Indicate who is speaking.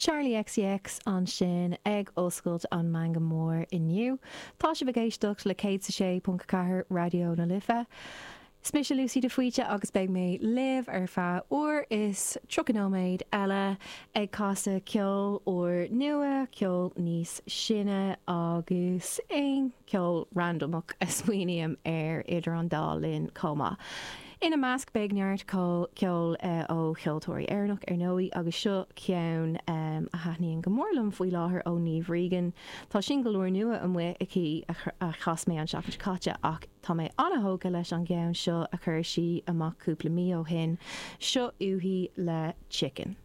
Speaker 1: Charli XCX ansin ag oscailt an Meangadh Mór inniu. Tá sibh ag éisteacht le 106.4 Raidió na Life. Is mise Lucy de Faoite agus beidh mé libh ar feadh uair is 30 nóiméad eile ag casadh ceol úr nua, ceol níos sine agus aon ceol randamach a smaoiním air idir an dá linn chomh maith. Ina measc beidh neart ceoil ó cheoltóirí Éireannach ar ndóigh agus seo ceann a thaitníonn go mór liom faoi láthair ó Niamh Regan. Tá singil úrnua amuigh aici a chas mé an tseachtain seo caite ach tá mé an-thógtha leis an gceann seo a chuir sí amach cúpla mí ó shin. Seo uaithi le Chicken.